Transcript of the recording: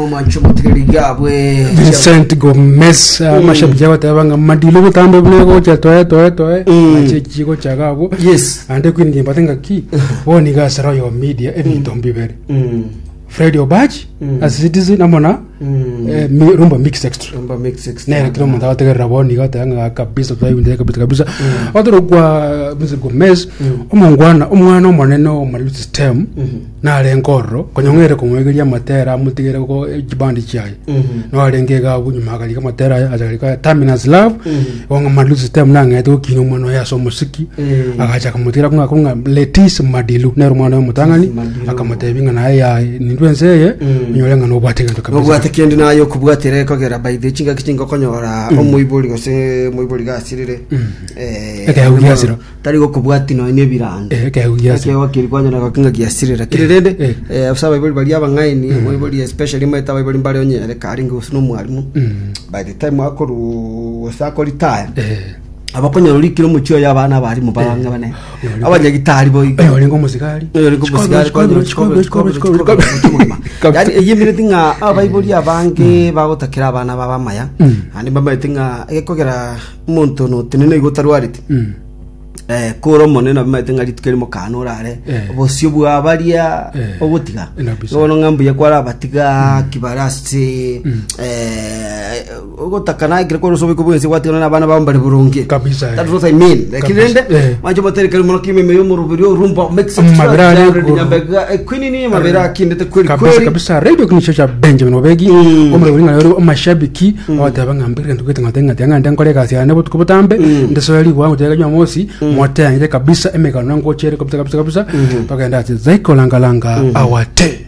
Omwancho omotigereri gabwe. Vincent Gomez amashabiki agoteba ng'a Madilu botambe buna egocha toe toe toe nache chigocha iga abwo Yes. ande Queen Gimbate ng'aki bono iga ase Royal Media ebinto mbibere Fred Obachi ase Citizen amo na eh, Mi- Rumba Mix Extra Rumba Mix Extra. nere kera omonto agotegerera bono iga oteba ng'a kabisa twaigundire kabisa kabisa otorokwa Vincent Gomez omongwana omwana omonene o Madilu System Narenge ororo, konya ng'ere komoegeria amatera amotigere go chibandi chiaye. Narenge iga abwo nyuma akarika amatera aye, acha akarika Terminus Love, igo ng'a Madilu System nang'ete gokina omwana oye ase omosiki, agacha akamotigera kong'a kong'a Letis Madilu, nere omwana oye omotang'ani, Madilu. akamotebia ng'a naye yaye nindwe ense eye, onyore ng'a nobwate egento kabisa. Nobwate kende naye okobwatera ekogera by the chingaki chinga okonyora omoibori gose omoibori gasirire eh, Ekeegwa giasira. Tari gokobwatia nonya nebirando. Eh, ekeegwa giasira. Ekeegwa keria kwanyora goki ng'a giasirera. Kere rende, eh. eh, ase abaibori baria abang'aini, omoibori especially omanyete abaibori mbare onye ere karenge gose na omwalimu, by the time akorwa gose akoritaya, Eh. abakonyora orikire omochie oye abana abarimu barang'e bane, abanyagitari boigo. Oyo orenge omosigari. Oyo orenge omosigari, kwanyora chikobero, chikobero, chikobero, chikobero, omogima. Kabisa. Yaani eyio emineti ng'a abaibori abange bagotakera abana babo amaya, naende mbamaete ng'a egekogera Omonto notenena igo otarwareti, eh, kore omonene nabimanyete ng'a rituko erimo kana orare Eh. obosio bwa baria Eh. ogotiga Kabisa. bono ng'a mbuya kwarabatiga ki bare ase eh, ogotaka naye ekero kore ase oboiko bwense gwatigana na abana bao mbare boronge Kabisa, eh. That's what I mean. Lakini Kabisa, rende eh. mwanche motere mono kime ime y'omoroberi orumba mix Amabere are igoro. Nyambega eh, Queen ni amabere akindete kweli kabisa kweli kabisa radio kinicho cha Benjamin Obegi Mm. omoroberi ng'a ore amashabiki abateba ng'a mbere gento gete ng'ate ng'ate ng'a nde nkore egasi yane botuko botambe ndesoe rigwa ngotega Jumamosi moteang'ire kabisa emegano ngochere kabisa kabisa kabisa togenda ase Zaiko Langa Langa awate.